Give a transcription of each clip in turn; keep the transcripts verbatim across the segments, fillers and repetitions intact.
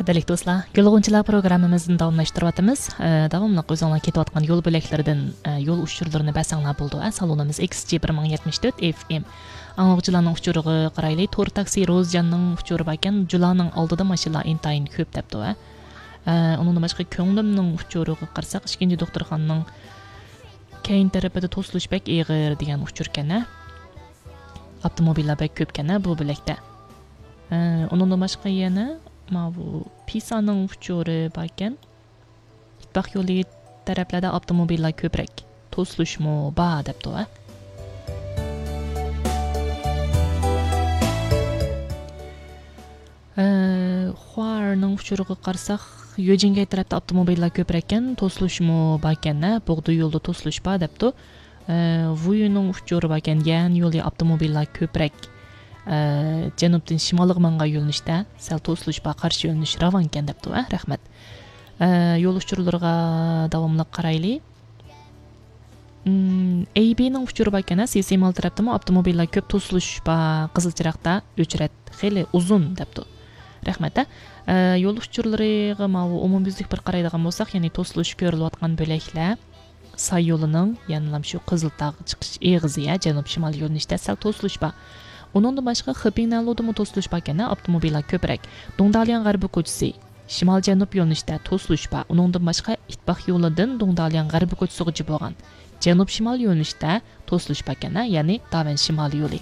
بەلىك دوستلار، گۈل غۇنچىلار پروگراممىمىزنى داۋاملاشتۇرۇۋاتىمىز. ئە، داۋاملىق ئۆزۈڭلار كېتىۋاتقان يول بۆلەكلىرىدىن، ئە، يول ئۇچۇرلىرىنى بەرسەڭلار بولىدۇ. ئە، سالونىمىز ئېكس جى بىر مىڭ يەتمىش تۆت ئېف ئېم. ئاڭلىغۇچىلارنىڭ ئۇچۇرىغا قارايلى. تور تاكسى روزجاننىڭ ئۇچۇرى باركەن، جۇلانىڭ ئالدىدا ماشىنىلار ئىنتايىن كۆپ دەپتۇ. ئە، ئە، ئۇنىڭدىن باشقا كۆڭلۈمنىڭ ئۇچۇرىغا قارىساق، ئىككىنچى دوختۇرخانىنىڭ كەينى تەرىپىدە توسۇلۇش بەك ئېغىر دېگەن ئۇچۇركەن، ھە. ئاپتوموبىللار بەك كۆپكەن، ھە، بۇ بۆلەكتە. ئە، ئۇنىڭدىن باشقا يەنە ماۋۇ پىسانىڭ ئۇچۇرى باركەن. ئىتتىپاق يولى تەرەپلەردە ئاپتوموبىللار كۆپرەك. توسۇلۇشمۇ بار دەپتۇ، ھە. ئە، خوارنىڭ ئۇچۇرىغا قارىساق، يۆجىنگەي تەرەپتە ئاپتوموبىللار كۆپرەككەن، توسۇلۇشمۇ باركەن، ھە، بوغدا يولىدا توسۇلۇش بار دەپتۇ. ئە، ۋۇيۈنىڭ ئۇچۇرى باركەن، يەنى يولى ئاپتوموبىللار كۆپرەك، ئە، جەنۇبتىن شىمالغا ماڭغان يۆنىلىشتە سەل توسۇلۇش بار، قارشى يۆنىلىش راۋانكەن دەپتۇ، ھە، رەھمەت. ئە، يول ئۇچۇرلىرىغا داۋاملىق قارايلى. ئېيبىنىڭ ئۇچۇرى باركەن، سىسىمال تەرەپتىمۇ ئاپتوموبىللار كۆپ، توسۇلۇش بار، قىزىل چىراغدا ئۆچرەت خېلى ئۇزۇن دەپتۇ. رەھمەت، ھە. ئە، يول ئۇچۇرلىرىغا ماۋۇ ئومۇميۈزلۈك بىر قارايدىغان بولساق، يەنى توسۇلۇش كۆرۈلۈۋاتقان بۆلەكلەر ساي يولىنىڭ يەنىلا شۇ قىزىلتاغ چىقىش ئېغىزى، ھە، جەنۇب شىمال يۆنىلىشتە سەل توسۇلۇش بار. ئۇنىڭدىن باشقا، خېپىڭنەنلۇدىمۇ توسۇلۇش باركەن، ئاپتوموبىللار كۆپرەك. دۇڭدالياڭ غەربىي كوچىسى، شىمال جەنۇب يۆنىلىشتە توسۇلۇش بار. ئۇنىڭدىن باشقا، ئىتتىپاق يولىدىن دۇڭدالياڭ غەربىي كوچىسىغىچە بولغان جەنۇب شىمال يۆنىلىشتە توسۇلۇش باركەن، يەنى داۋەن شىمال يولى.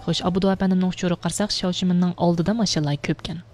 خوش، ئابدۇ ئەپەندىمنىڭ ئۇچۇرىغا قارىساق، شياۋشىمىننىڭ ئالدىدا ماشىنىلار كۆپكەن.